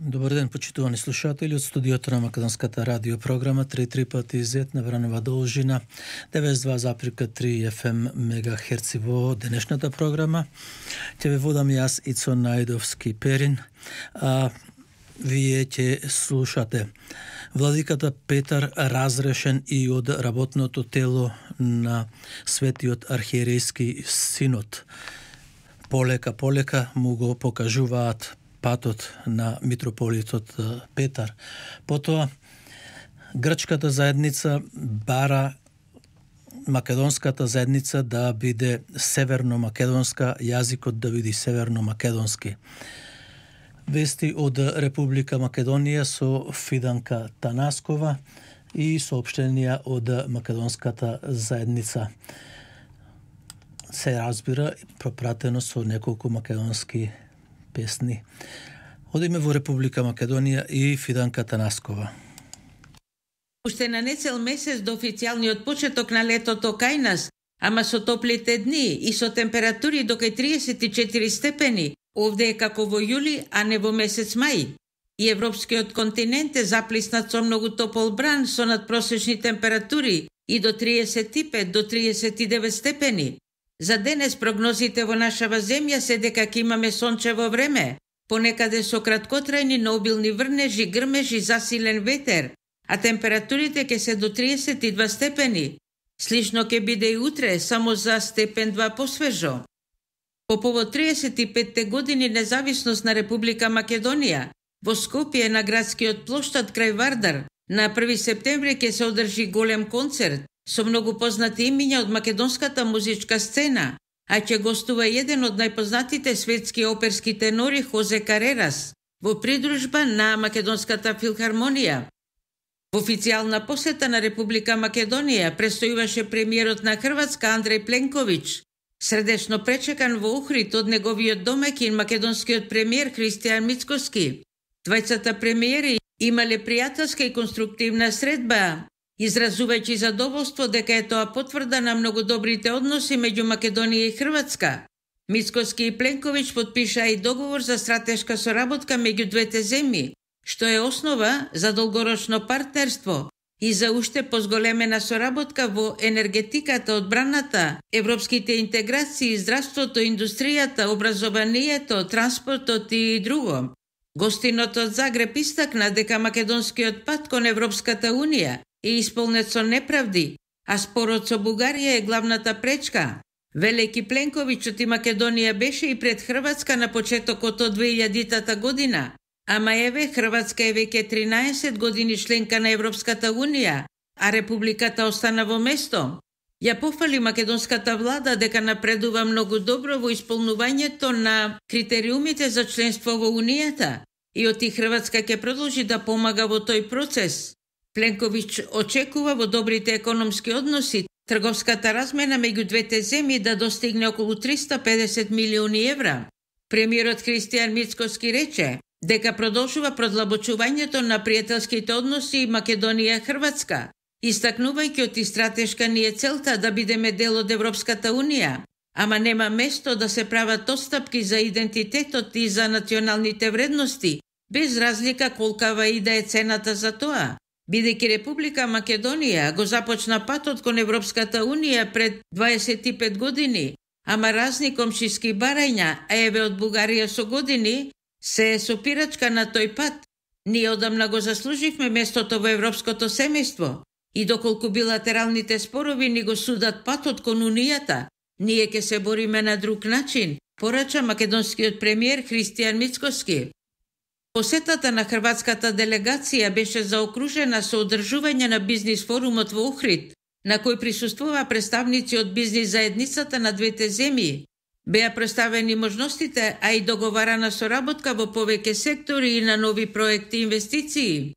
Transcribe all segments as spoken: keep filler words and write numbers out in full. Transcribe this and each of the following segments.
Добар ден, почитувани слушатели од студиото на Македонската радио програма три три пати зет на вранова должина деветдесет и два запирка три еф ем мегахерци во денешната програма. Ќе ве водам јас Ицо Најдовски Перин, а вие ќе слушате Владиката Петар разрешен и од работното тело на Светиот архиерејски синод. Полека полека му го покажуваат патот на митрополитот Петар. Потоа, грчката заедница бара македонската заедница да биде северно-македонска, јазикот да биде северно-македонски. Вести од Република Македонија со Фиданка Танаскова и соопштенија од македонската заедница. Се разбира, пропратено со неколку македонски песни. Одиме во Република Македонија и Фиданка Танаскова. Уште на нецел месец до официјалниот почеток на летото кај нас, ама со топлите дни и со температури до кај триесет и четири степени, овде е како во јули, а не во месец мај. И европскиот континент е заплиснат со многу топол бран со надпросечни температури и до триесет и пет до триесет и девет степени. За денес прогнозите во нашава земја се дека ќе имаме сончево време, понекаде со краткотрајни, но обилни врнежи, грмежи, засилен ветер, а температурите ќе се до триесет и два степени. Слично ќе биде и утре, само за степен два посвежо. По повод триесет и петте години независност на Република Македонија, во Скопје на градскиот плоштад крај Вардар, на први септември ќе се одржи голем концерт со многу познати имиња од македонската музичка сцена, а ќе гостува еден од најпознатите светски оперски тенори Хозе Карерас, во придружба на Македонската филхармонија. Во официјална посета на Република Македонија престојуваше премиерот на Хрватска Андреј Пленковиќ, средечно пречекан во Охрид од неговиот домаќин македонскиот премиер Христијан Мицкоски. Двајцата премиери имале пријателска и конструктивна средба, изразувајќи задоволство дека е тоа потврда на многу добрите односи меѓу Македонија и Хрватска. Мицкоски и Пленковиќ подпишаа и договор за стратешка соработка меѓу двете земји, што е основа за долгорочно партнерство и за уште позголемена соработка во енергетиката, одбраната, европските интеграции, здравството, индустријата, образованието, транспортот и друго. Гостинот од Загреб истакна дека македонскиот пат кон Европската унија е исполнет со неправди, а спорот со Бугарија е главната пречка. Велики Пленковиќот и Македонија беше и пред Хрватска на почетокот од две илјадитата година, ама еве Хрватска е веќе тринаесет години членка на Европската унија, а Републиката остана во место. Ја пофали македонската влада дека напредува многу добро во исполнувањето на критериумите за членство во Унијата и оти Хрватска ќе продолжи да помага во тој процес. Пленковиќ очекува во добрите економски односи трговската размена меѓу двете земји да достигне околу триста педесет милиони евра. Премиерот Христијан Мицкоски рече дека продолжува продлабочувањето на пријателските односи Македонија-Хрватска, истакнувајќи оти стратешка ни е целта да бидеме дел од Европската унија, ама нема место да се прават отстапки за идентитетот и за националните вредности, без разлика колкава и да е цената за тоа. Бидејќи Република Македонија го започна патот кон Европската унија пред дваесет и пет години, ама разни комшиски барања, а еве од Бугарија со години, се сопирачка на тој пат. Ние одамна го заслуживме местото во европското семејство и доколку билатералните спорови ни го судат патот кон Унијата, ние ќе се бориме на друг начин, порача македонскиот премиер Христијан Мицкоски. Посетата на хрватската делегација беше заокружена со одржување на бизнис форумот во Охрид, на кој присуствува представници од бизнис заедницата на двете земји. Беа представени можностите, а и договарана соработка во повеќе сектори и на нови проекти и инвестиции.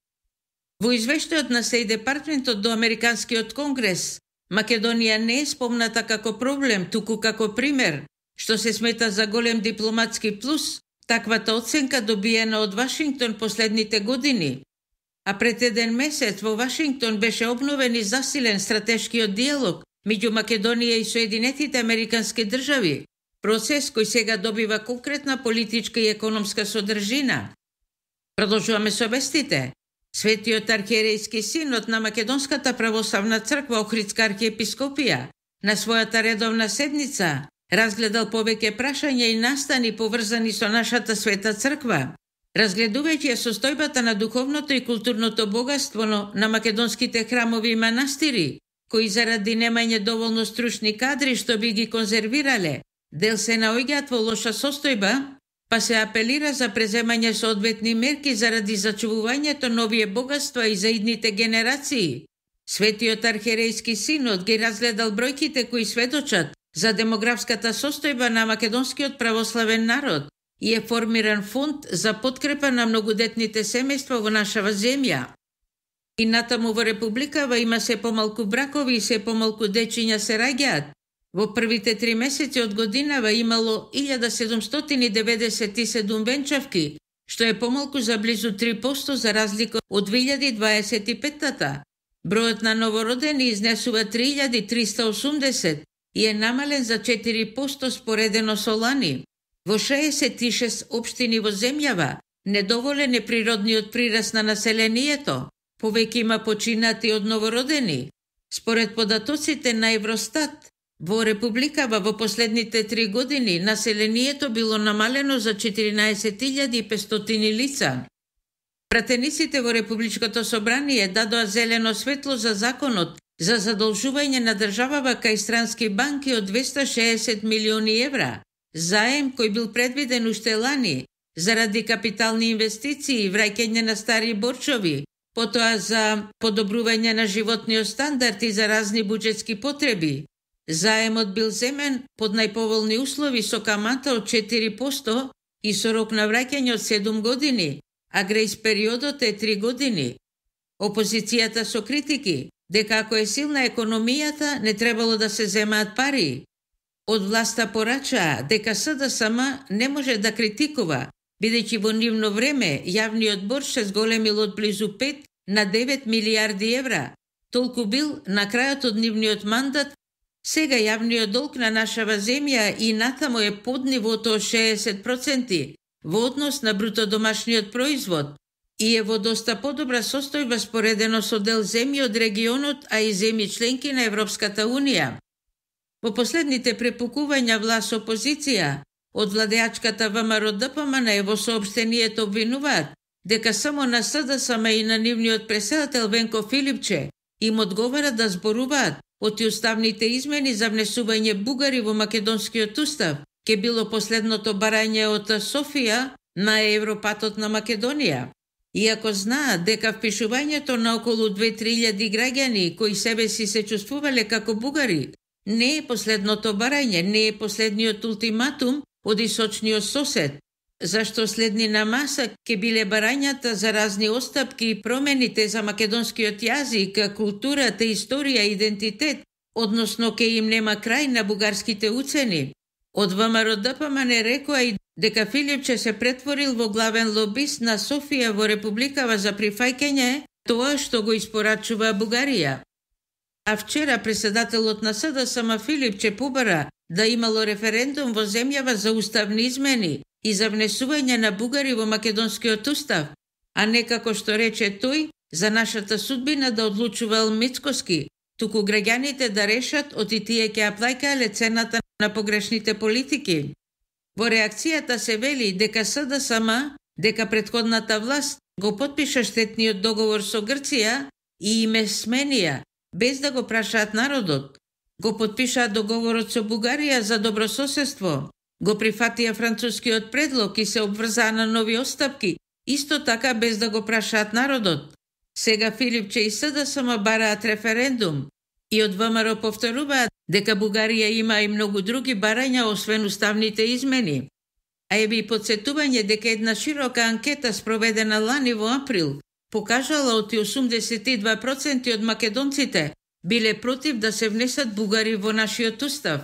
Во извештајот на Стејт Департментот до Американскиот конгрес, Македонија не е спомната како проблем, туку како пример, што се смета за голем дипломатски плюс, таквата оценка добиена од Вашингтон последните години. А пред еден месец во Вашингтон беше обновен и засилен стратешкиот диалог меѓу Македонија и Соединетите Американски држави, процес кој сега добива конкретна политичка и економска содржина. Продолжуваме со вестите. Светиот архиерејски синод на Македонската православна црква Охридска архиепископија на својата редовна седница разгледал повеќе прашања и настани поврзани со нашата света црква, разгледувајќи ја состојбата на духовното и културното богатство на македонските храмови и манастири, кои заради немање доволно стручни кадри што би ги конзервирале, дел се наоѓаат во лоша состојба, па се апелира за преземање соодветни мерки заради зачувувањето на овие богатства и за идните генерации. Светиот архиерејски синод ги разгледал бројките кои сведочат за демографската состојба на македонскиот православен народ и е формиран фонд за подкрепа на многодетните семејства во нашава земја. И натаму во Републикава има се помалку бракови и се помалку дечиња се раѓаат. Во првите три месеци од годинава имало илјада седумстотини деведесет и седум венчавки, што е помалку за близу три проценти за разлика од две илјади дваесет и петта. Бројот на новородени изнесува три илјади триста осумдесет и е намален за четири проценти споредено со лани. Во шеесет и шест општини во земјава недоволен е природниот прираст на населението, повеќе има починати од новородени. Според податоците на Евростат, во Републикава во последните три години населението било намалено за четиринаесет илјади и петстотини лица. Пратениците во Републичкото собрание дадоа зелено светло за законот за задолжување на државава кај странски банки од двеста шеесет милиони евра, заем кој бил предвиден уште лани заради капитални инвестиции и враќање на стари борчови, потоа за подобрување на животниот стандард и за разни буџетски потреби. Заемот бил земен под најповолни услови со камата од четири проценти и со рок на враќање од седум години, а грејс периодот е три години. Опозицијата со критики дека ако е силна економијата не требало да се земаат пари. Од власта порачаа дека СДСМ не може да критикува, бидејќи во нивно време јавниот борч се зголемил од близу пет на девет милијарди евра. Толку бил на крајот од нивниот мандат. Сега јавниот долг на нашава земја и натаму е под нивото од шеесет проценти во однос на бруто домашниот производ и е во доста подобра состојба споредено со дел земји од регионот, а и земји членки на Европската унија. Во последните препукувања власт опозиција од владеачката ВМРО-ДПМН е во соопштението обвинуваат дека само на СДСМ и на нивниот претседател Венко Филипче им одговара да зборуваат оти уставните измени за внесување бугари во македонскиот устав, ке било последното барање од Софија на Европатот на Македонија. Иако знаат дека впишувањето на околу две-три илјади граѓани кои себе си се чувствувале како бугари не е последното барање, не е последниот ултиматум од источниот сосед, зашто следни на маса ке биле барањата за разни остапки и промените за македонскиот јазик, културата, историја и идентитет, односно ке им нема крај на бугарските уцени. Од ВМРО-ДПМН рекоа и дека Филипче се претворил во главен лобист на Софија во Републикава за прифаќање тоа што го испорачува Бугарија. А вчера председателот на СДСМ Филипче побара да имало референдум во земјава за уставни измени и за внесување на бугари во македонскиот устав, а не како што рече тој, за нашата судбина да одлучува Мицкоски, туку граѓаните да решат оти тие ќе ја плаќаеле цената на погрешните политики. Во реакцијата се вели дека СДСМ, дека претходната власт го потпиша штетниот договор со Грција и име сменија, без да го прашаат народот. Го потпишаат договорот со Бугарија за добрососедство, го прифатија францускиот предлог и се обврзаа на нови остапки, исто така без да го прашаат народот. Сега Филипче и СДСМ бараат референдум и од ВМРО повторуваат дека Бугарија има и многу други барања освен уставните измени. А е би подсетување дека една широка анкета спроведена лани во април покажала оти осумдесет и два проценти од македонците биле против да се внесат бугари во нашиот устав.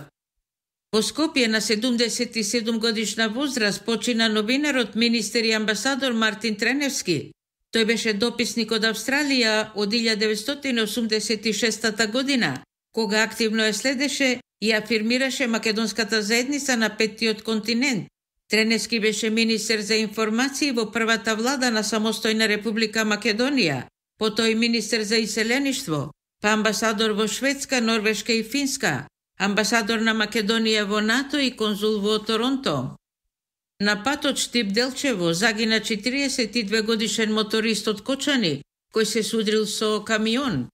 Во Скопје на седумдесет и седум годишна возраст почина новинарот, министер и амбасадор Мартин Треневски. Тој беше дописник од Австралија од илјада деветстотини осумдесет и шеста година, кога активно ја следеше и афирмираше македонската заедница на петтиот континент. Тренески беше министер за информации во првата влада на самостојна Република Македонија, потоа и министер за иселеништво, па амбасадор во Шведска, Норвешка и Финска, амбасадор на Македонија во НАТО и конзул во Торонто. На патот Штип-Делчево загина четириесет и две годишен моторист од Кочани, кој се судрил со камион.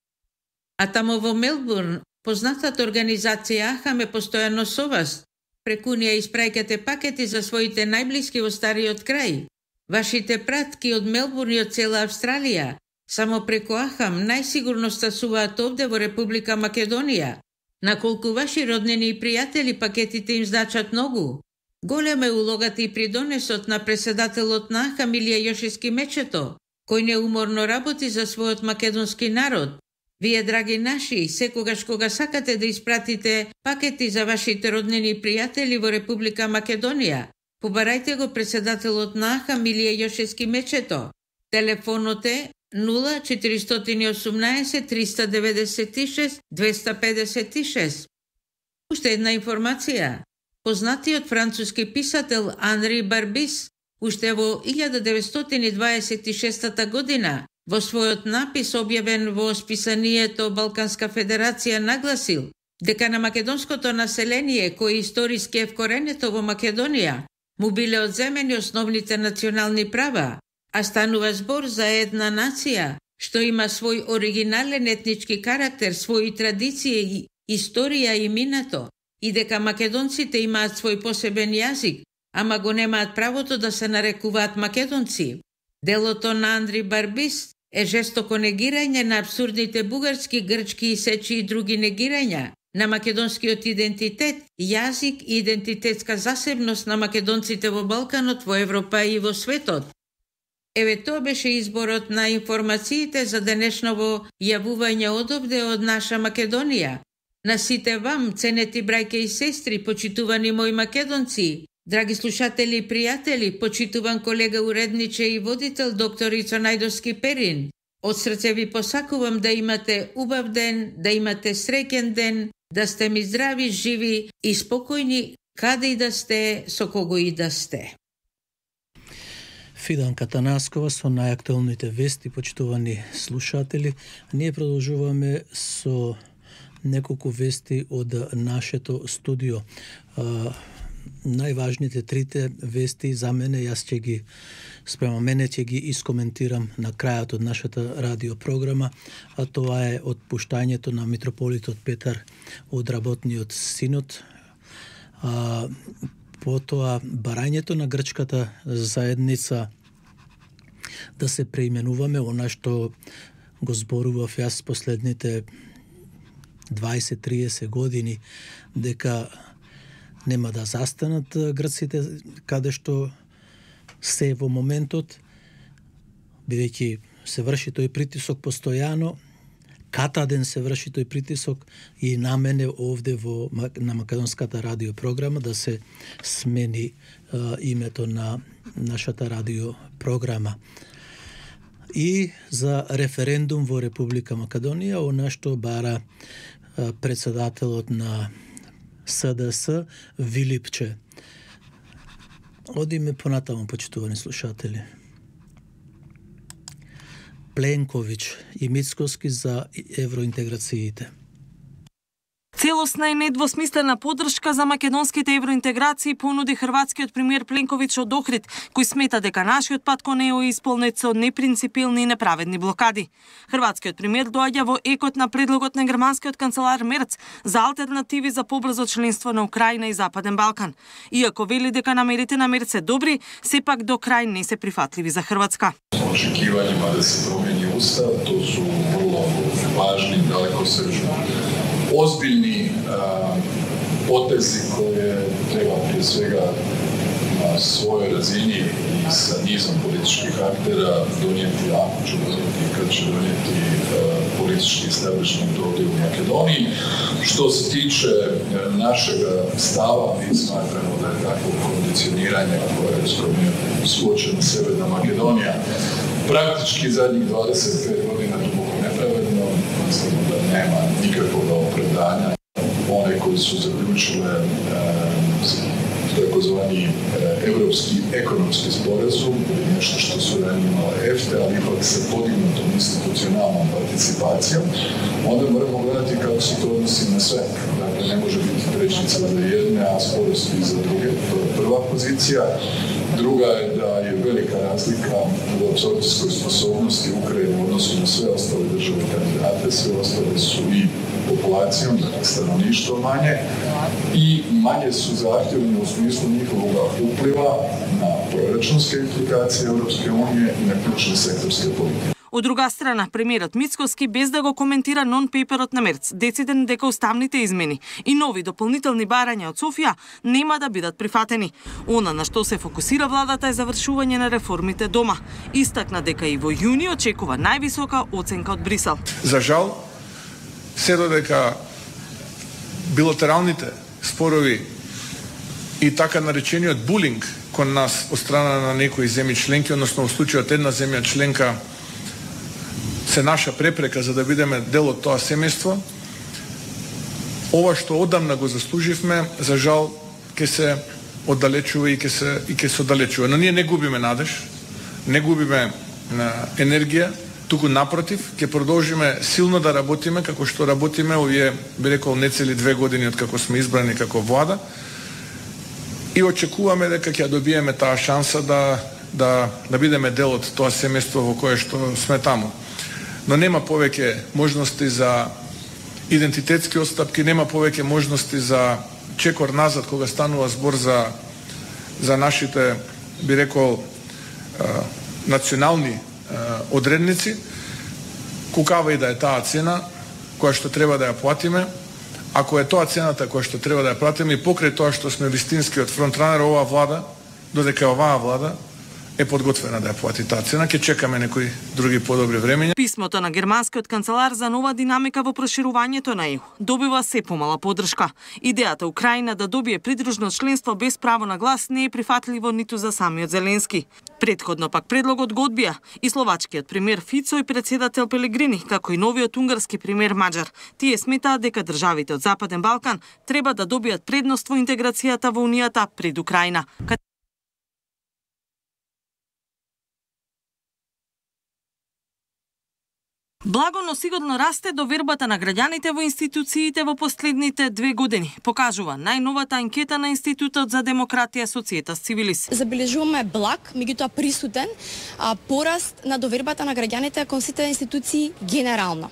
А тамо во Мелбурн, познатата организација Ахам е постојано со вас. Преку неа испраќате пакети за своите најблиски во стариот крај. Вашите пратки од Мелбурн и од цела Австралија, само преку Ахам најсигурно стасуваат овде во Република Македонија. Наколку ваши роднини и пријатели пакетите им значат многу. Голема е улогата и придонесот на преседателот на Ахам Илија Јошевски Мечето, кој неуморно работи за својот македонски народ. Вие, драги наши, секогаш кога сакате да испратите пакети за вашите роднини и пријатели во Република Македонија, побарајте го преседателот на Ахам Илија Јошевски Мечето. Телефонот е нула четиристотини и осумнаесет триста деветдесет и шест двеста педесет и шест. Уште една информација. Познатиот француски писател Анри Барбис уште во илјада деветстотини дваесет и шеста година во својот напис објавен во списанието Балканска федерација нагласил дека на македонското население кој историски е вкоренето во Македонија му биле одземени основните национални права, а станува збор за една нација што има свој оригинален етнички карактер, своји традиции, историја и минато, и дека македонците имаат свој посебен јазик, ама го немаат правото да се нарекуваат македонци. Делото на Андри Барбис е жестоко негирање на абсурдните бугарски, грчки и сечи и други негирања на македонскиот идентитет, јазик и идентитетска засебност на македонците во Балканот, во Европа и во светот. Еве тоа беше изборот на информациите за денешново јавување одовде од наша Македонија. На сите вам, ценети брајке и сестри, почитувани мои македонци, драги слушатели и пријатели, почитуван колега уредниче и водител доктор Ицо Најдовски Перин, од срце ви посакувам да имате убав ден, да имате среќен ден, да сте ми здрави, живи и спокојни, каде и да сте, со кого и да сте. Фиданка Танаскова со најактуелните вести, почитувани слушатели. Ние продолжуваме со неколку вести од нашето студио. А, најважните трите вести за мене, јас ќе ги спрема мене ќе ги искоментирам на крајот од нашата радиопрограма, а тоа е отпуштањето на митрополитот Петар од работниот синод, а, потоа барањето на грчката заедница да се преименуваме, она што го зборував јас последните дваесет-триесет години, дека нема да застанат грците каде што се во моментот, бидејќи се врши тој притисок постојано, катаден се врши тој притисок и на мене овде во, на македонската радиопрограма да се смени а, името на нашата радиопрограма. И за референдум во Република Македонија, она што бара а, председателот на С Д С Вилипче. Одиме понатаму, почитувани слушатели. Пленковиќ и Мицкоски за евроинтеграциите. Целосна и недвосмислена поддршка за македонските евроинтеграции понуди хрватскиот премиер Пленковиќ од Охрид, кој смета дека нашиот пат кон ЕУ е исполнет со непринципилни и неправедни блокади. Хрватскиот премиер доаѓа во екот на предлогот на германскиот канцелар Мерц за алтернативи за побрзо членство на Украина и Западен Балкан. Иако вели дека намерите на Мерц се добри, сепак до крај не се прифатливи за Хрватска. Очекивањима да се промени устав, тоа су vrlo важни, далекосечни, ozbiljni a, potezi koje treba prije svega na svojoj razini i sa nizom političkih aktera donijeti, ako ću donijeti, kad će donijeti a, politički establishment ovdje u Makedoniji. Što se tiče a, našeg stava, mi smatramo da je takvo kondicioniranje koje je suočena Severna Makedonija praktički zadnjih dvadeset pet godina duboko nepravedno, mislimo da nema nikakvog opravdanja. One koji su zaključile e, takozvani Evropski ekonomski sporazum, nešto što su ranije imale EFTA, ali ipak sa podignutom institucionalnom participacijom, onda moramo gledati kako se to odnosi na sve. Dakle, ne može biti prečnica za jedne, a sporosti za druge. To je prva pozicija. Druga je da je velika razlika u apsorpcijskoj sposobnosti Ukrajine u odnosu na sve ostale države kandidate, sve ostale su i populacijom, dakle stanovništvo manje, i manje su zahtjevni u smislu njihovog upliva na proračunske implikacije Europske unije i na ključne sektorske politike. Од друга страна, премиерот Мицкоски, без да го коментира нон-пейперот на Мерц, дециден дека уставните измени и нови дополнителни барања од Софија нема да бидат прифатени. Она на што се фокусира владата е завршување на реформите дома. Истакна дека и во јуни очекува највисока оценка од Брисел. За жал, се додека билатералните спорови и така наречениот булинг кон нас од страна на некои земји членки, односно во случајот една земја членка се наша препрека за да бидеме дел од тоа семејство, ова што одамна го заслуживме, за жал ќе се оддалечува и ќе се и ќе се оддалечува. Но ние не губиме надеж, не губиме енергија, туку напротив, ќе продолжиме силно да работиме како што работиме овие, би рекол, не цели две години од како сме избрани како влада, и очекуваме дека ќе добиеме таа шанса да да да бидеме дел од тоа семејство во кое што сме таму. Но нема повеќе можности за идентитетски отстапки, нема повеќе можности за чекор назад кога станува збор за за нашите, би рекол, национални одредници, кукава и да е таа цена која што треба да ја платиме. Ако е тоа цената која што треба да ја платиме и покрај тоа што сме вистинскиот фронтранер, оваа влада, додека оваа влада е подготвена да ја плати таа цена, ќе чекаме некои други подобри времења. Писмото на германскиот канцелар за нова динамика во проширувањето на Е У добива се помала поддршка. Идејата Украина да добие придружно членство без право на глас не е прифатливо ниту за самиот Зеленски. Предходно пак предлогот го одбија и словачкиот премиер Фицо и председател Пелегрини, како и новиот унгарски премиер Маџар. Тие сметаат дека државите од Западен Балкан треба да добијат предност во интеграцијата во Унијата пред Украина. Благо, но сигурно расте довербата на граѓаните во институциите во последните две години, покажува најновата анкета на Институтот за демократија Societas Civilis. Забележуваме благ, меѓутоа присутен, а, пораст на довербата на граѓаните кон сите институции генерално.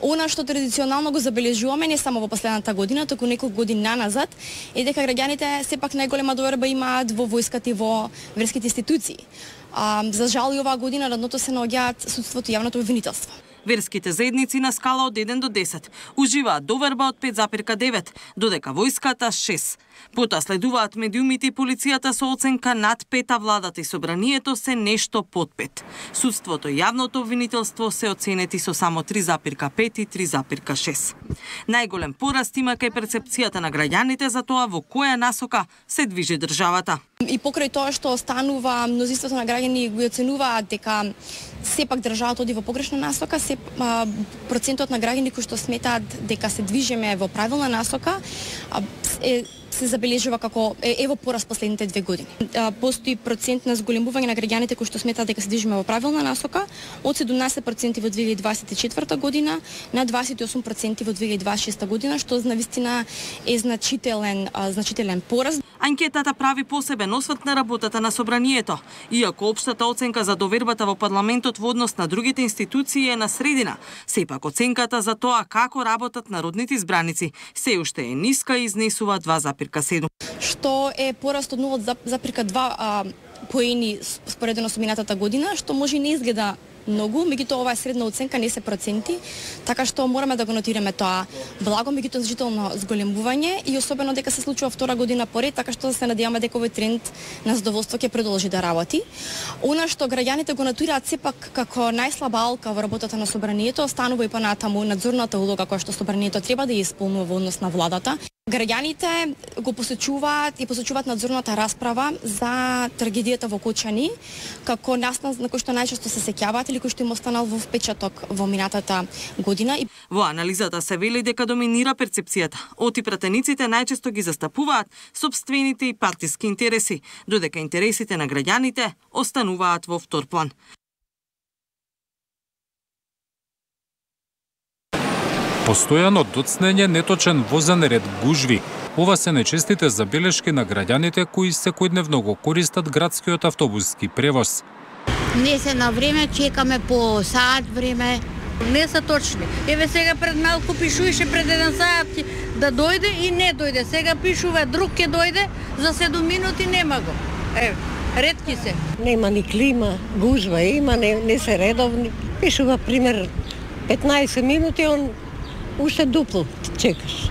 Она што традиционално го забележуваме не само во последната година, туку неколку години наназад, е дека граѓаните сепак најголема доверба имаат во војската и во верските институции. А, за жал и оваа година на дното се наоѓаат судството и јавното обвинителство. Верските заедници на скала од еден до десет уживаат доверба од пет запирка девет, додека војската шест. Потоа следуваат медиумите и полицијата со оценка над пет, а владата и собранието се нешто под пет. Судството и јавното обвинителство се оценети со само три запирка пет и три запирка шест. Најголем пораст има кај перцепцијата на граѓаните за тоа во која насока се движи државата. И покрај тоа што останува, мнозинството на граѓани го оценуваат дека сепак државата оди во погрешна насока, се а, процентот на граѓани кои што сметаат дека се движиме во правилна насока а, е се забележува како е, е во пораст последните две години. А, постои процент на зголемување на граѓаните кои што сметаат дека се движиме во правилна насока од седумнаесет проценти во две илјади дваесет и четврта година на дваесет и осум проценти во две илјади дваесет и шеста година, што навистина е значителен а, значителен пораст. Анкетата прави посебен осврт на работата на собранието. Иако општата оценка за довербата во парламентот во однос на другите институции е на средина, сепак оценката за тоа како работат народните избраници се уште е ниска и изнесува два запирка седум. Што е пораст од нула запирка два поени споредено со минатата година, што може и не изгледа многу, меѓутоа ова е средна оценка, не се проценти, така што мораме да го нотираме тоа благо, меѓутоа значително зголемување и особено дека се случува втора година поред, така што се надеваме дека овој тренд на задоволство ќе продолжи да работи. Она што граѓаните го нотираат сепак како најслаба алка во работата на собранието, останува и понатаму надзорната улога која што собранието треба да ја исполнува во однос на владата. Граѓаните го посечуваат и посечуваат надзорната расправа за трагедијата во Кочани, како настан на кој што најчесто се сеќаваат или кој што им останал во впечаток во минатата година. Во анализата се вели дека доминира перцепцијата. Оти пратениците најчесто ги застапуваат сопствените и партиски интереси, додека интересите на граѓаните остануваат во втор план. Постојано доцнење, неточен возен ред, гужви. Ова се нечестите забелешки на граѓаните кои секојдневно го користат градскиот автобуски превоз. Не се на време, чекаме по саат време. Не се точни. Еве сега пред малку пишуваше пред еден саат да дојде и не дојде. Сега пишува друг ќе дојде, за седум минути нема го. Еве, ретки се. Нема ни клима, гужва има, не, не се редовни. Пишува пример петнаесет минути, он уште дупло чекаш.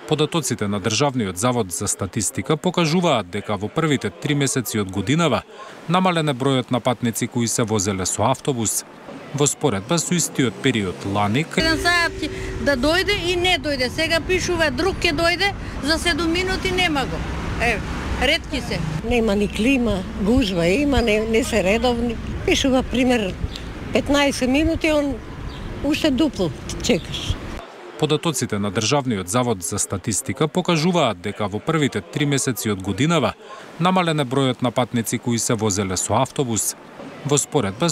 Податоците на Државниот завод за статистика покажуваат дека во првите три месеци од годинава намален е бројот на патници кои се возеле со автобус. Во споредба со истиот период лани, еден саат да дојде и не дојде. Сега пишува друг ќе дојде, за седум минути нема го. Еве, ретки се. Нема ни клима, гужва има, не, не се редовни. Пишува пример петнаесет минути, он уште дупло чекаш. Податоците на Државниот завод за статистика покажуваат дека во првите три месеци од годинава намален е бројот на патници кои се возеле со автобус. Во споредба